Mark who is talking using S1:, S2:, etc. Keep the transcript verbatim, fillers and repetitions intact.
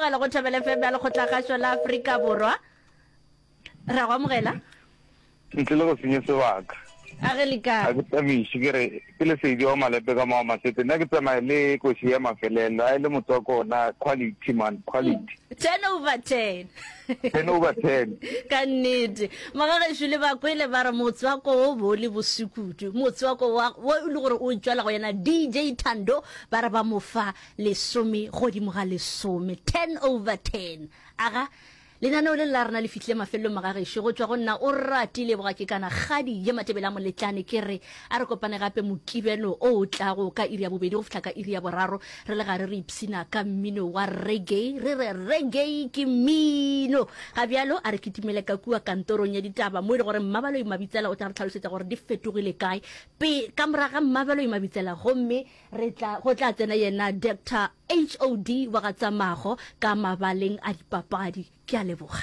S1: amogela go Thobela F M ya Lekgotlakgašo la Afrika Borwa. Re a go amogela.
S2: Ntle le go senya sebaka.
S1: A ge le ka.
S2: A ke tsamiše ke re ke Lesedi wa Malepe ka Mao Masete. Nna ke tsamaya le koši ya mafelelo a e le motswako ona quality man quality.
S1: Ten over ten.
S2: Ten over ten.
S1: Ka nnete. Magagešo le ba kwele ba re motswako wo bo le bose kudu. Motswako wa wo e le gore o tšwela go yena D J Thando ba re ba mo fa lesome godimo ga lesome. Ten over ten. Aga lenaneo le la rena le fihlile mafelelong magagešo go tšwa go nna o ratile boga ke kana kgadi ye Matebele a Moletlane ke re a re kopane gape Mokibelo o o tlago ka iri ya bobedi go fihla ka iri ya boraro re le gare re ipshina ka mmino wa reggae re re reggae ke mmino ga bjalo a re kitimele ka kua kantorong ya ditaba mo e le gore Mmabaloi Mabitsela o tla re tlhalosetša gore di fetogile kae pe ka moraga Mmabaloi Mabitsela gomme re tla go tla tsena yena Doctor H O D wa ga Tsamago ka mabaleng a dipapadi. Ke a leboga.